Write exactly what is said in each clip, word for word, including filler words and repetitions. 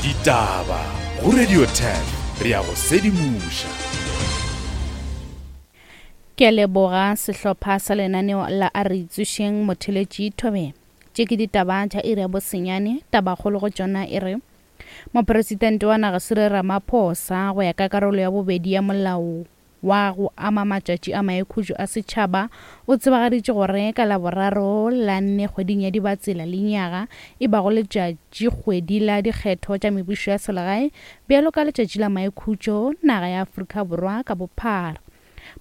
Ditaba go Radio ten re ya go sedimoša. Ke a leboga sehlopha sa lenaneo la A Re Itsošeng Motheletši Thobela. Tše ke ditaba tša iri ya bosenyane, tabakgolo go tšona e re Mopresidente wa naga Cyril Ramaphosa go ya ka karolo ya bobedi ya molao wa go ama matšatši a maikhutšo a setšhaba o tsebagaditše gore ka Laboraro la nne kgweding ya Dibatsela lenyaga e bago letšatši kgwedi la dikgetho tša mebušo ya selegae bjalo ka letšatši la maikhutšo naga ya Afrika Borwa ka bophara.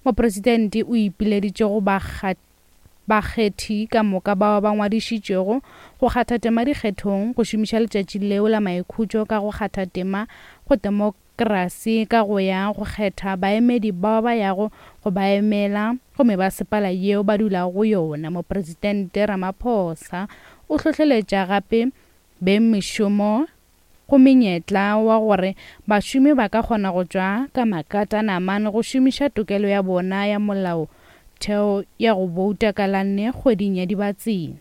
Mopresidente o ipileditše go bakgethi ka moka bao ba ngwadišitšwego go kgatha tema dikgethong go šomiša letšatši leo la maikhutšo ka go kgatha tema go demokrasi ka go ya go kgetha baemedi bao ba yago go ba emela go mebasepala yeo ba dulago go yona. Mopresidente Ramaphosa o hlohleletša gape beng mešomo go menyetla wa gore bašomi ba ka kgona go tšwa ka makatanamane go šomiša tokelo ya bona ya molao theo ya go bouta ka la nne kgweding ya Dibatsela.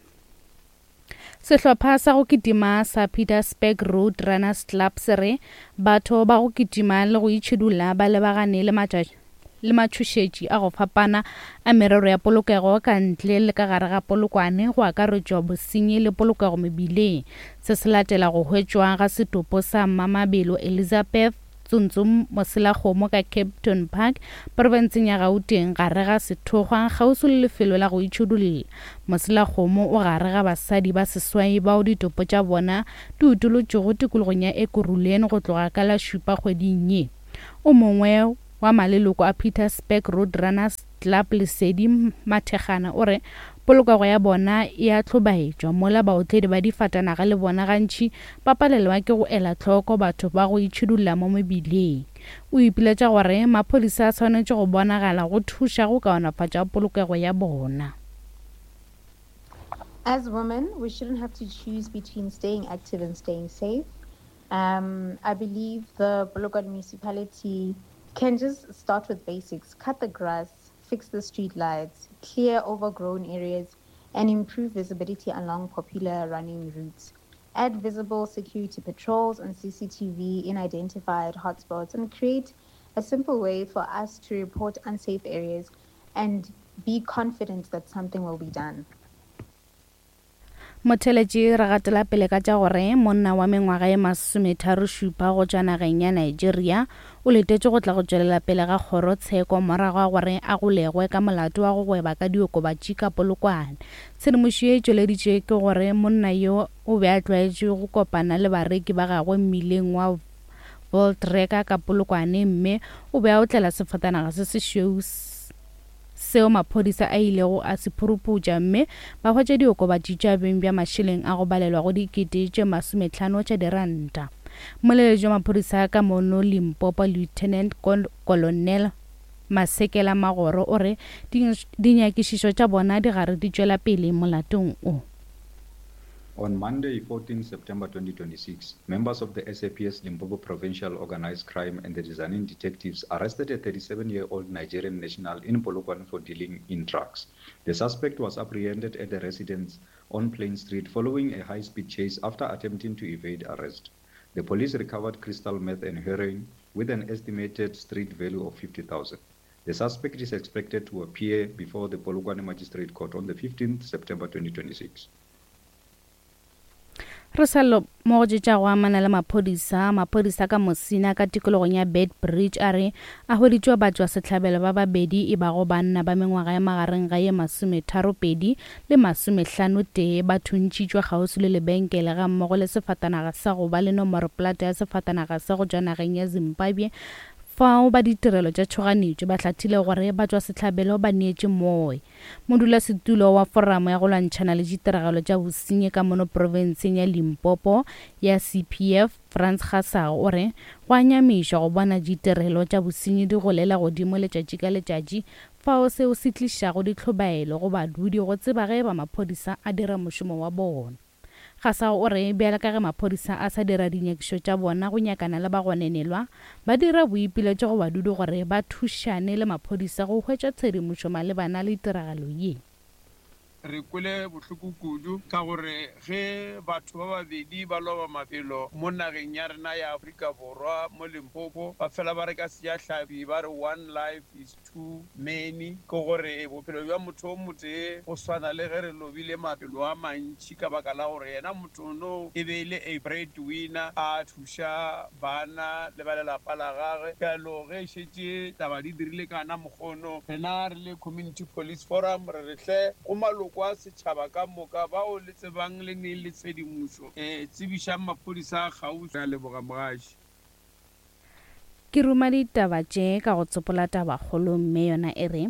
Sehlopha sa go kitima sa Pietersburg Road Runners Club se re batho ba go kitima le go itšhidulla ba lebagane le matšatši le matšhošetši a go fapana a merero ya polokego ka ntle le ka gare ga Polokwane go akaretšwa bosenyi le polokego mebileng. Se se latela go hwetšwa ga setopo sa Mmamabelo Elizabeth Tsuntsu Moselakgomo ka Kempton Park profenseng ya Gauteng gare ga sethokgwa kgauswi le lefelo la go itšhidulla. Moselakgomo o gare ga basadi ba seswai bao ditopo tša bona di utolotšwego tikologong ya Ekurhuleni go tloga ka la šupa kgweding ye. O mongwe wa maleloko a Pietersburg Road Runners Club Lesedi Mathekgana o re polokego ya bona e a hlobaetšwa mola baotledi ba difatanaga le bona gantši ba palelwa ke go ela hloko batho ba go itšhidulla mo mebileng. O ipiletša gore maphodisa a swanetše go bonagala go thuša go kaonafatša polokego ya bona. As women, we shouldn't have to choose between staying active and staying safe. Um, I believe the Polokwane municipality can just start with basics, cut the grass, fix the street lights, clear overgrown areas, and improve visibility along popular running routes. Add visible security patrols and C C T V in identified hotspots, and create a simple way for us to report unsafe areas and be confident that something will be done. Motheletši re gatela pele ka tša gore monna wa mengwaga ye masometharo šupa go tšwa nageng ya Nigeria o letetše go tla go tšwelela pele ga kgorotsheko morago ga gore a golegwe ka molato wa go gweba ka diokobatši ka Polokwane. Tshedimošo ye e tšweleditšwe ke gore monna yo o be a tlwaetše go kopana le bareki ba gagwe mmileng wa Voltreka ka Polokwane mme o be a otlela sefatanaga se sešweu seo maphodisa a ilego a se phuruputša mme ba hwetša diokobatši tša beng bja mašeleng a go balelwa go dikete tše masometlhano tša diranta. Moleletši wa maphodisa ka mono Limpopo Lieutenant Colonel Masekela Magoro o re dinyakišišo tša bona di gare di tšwela pele molatong o. On Monday, fourteenth September twenty twenty-six, members of the S A P S Limpopo Provincial Organized Crime and the Tzaneen detectives arrested a thirty-seven-year-old Nigerian national in Polokwane for dealing in drugs. The suspect was apprehended at a residence on Plain Street following a high-speed chase after attempting to evade arrest. The police recovered crystal meth and heroin with an estimated street value of fifty thousand. The suspect is expected to appear before the Polokwane Magistrate Court on the fifteenth September twenty twenty-six. Re sa le mo go tša go amana le maphodisa, maphodisa ka Mosina ka tikologong ya Bed Bridge a re a hweditšwe batšwa sehlabelo ba babedi e bago banna ba mengwaga ya magareng ga ye masometharo pedi le masomehlano tee ba thuntšitšwe kgauswi le lebenkele ga mmogo le sefatanaga sa go ba le nomoro plate ya sefatanaga sa go tšwa nageng ya Zimbabwe fao ba ditirelo tša tšhoganetšo ba hlathile gore ba tšwa sehlabelo ba neetše moe. Modulasetulo wa foramo ya go lwantšhana le ditiragalo tša bosenyi ka mono profenseng ya Limpopo ya C P F Frans Gasago o re go a nyamiša go bona ditirelo tša bosenyi di golela godimo letšatši ka letšatši fao seo se tlišago ditlhobaelo go badudi go tseba ge ba maphodisa a dira mošomo wa bona. Gasago o re bjale ka ge maphodisa a sa dira dinyakišo tša bona go nyakana le bagononelwa, ba dira boipiletšo go badudi gore ba thušane le maphodisa go hwetša tshedimošo malebana le tiragalo ye. Re kwele bohloko kudu ka gore ge batho ba babedi ba loba maphelo mo nageng ya rena ya Afrika Borwa mo Limpopo, ba fela ba re ka sejahlapi ba re one life is too many, ke gore bophelo bja motho o motee go swana le ge re lobile maphelo a mantši ka baka la gore yena motho no e be e le a breadwinner, a thuša bana le ba lelapa la gagwe. Bjalo ge šetše taba di dirile kana mokgono, rena re le Community Police Forum re re hle go maloko a setšhaba ka moka bao le tsebang le neng le tshedimošo, um tsebišang maphodisa a kgauswi. Re a leboga mogaši. Ke ruma ditaba tše ka go tsopola tabakgolo mme yona e re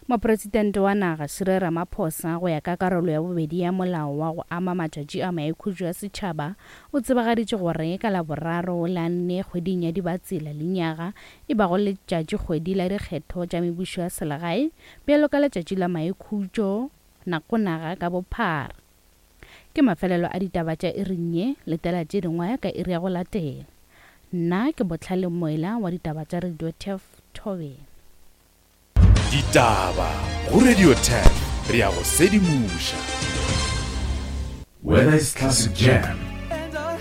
mopresidente wa naga Cyril Ramaphosa go ya ka karolo ya bobedi ya molao wa go ama matšatši a maikhutšo ya setšhaba o tsebagaditše gore ka Laboraro la nne kgweding ya Dibatsela lenyaga e bago letšatši kgwedi la dikgetho tša mebušo ya selegae bjalo ka letšatši la maikhutšo nako naga ka bophara. Ke mafelelo a ditaba tša iring ye, letela tše dingwe ka iri ya go latela. Nna ke Botlhale Moela wa ditaba tša Radio Turf Thobela. Ditaba go Radio Turf, re ya go sedimoša. Whether it's classic jam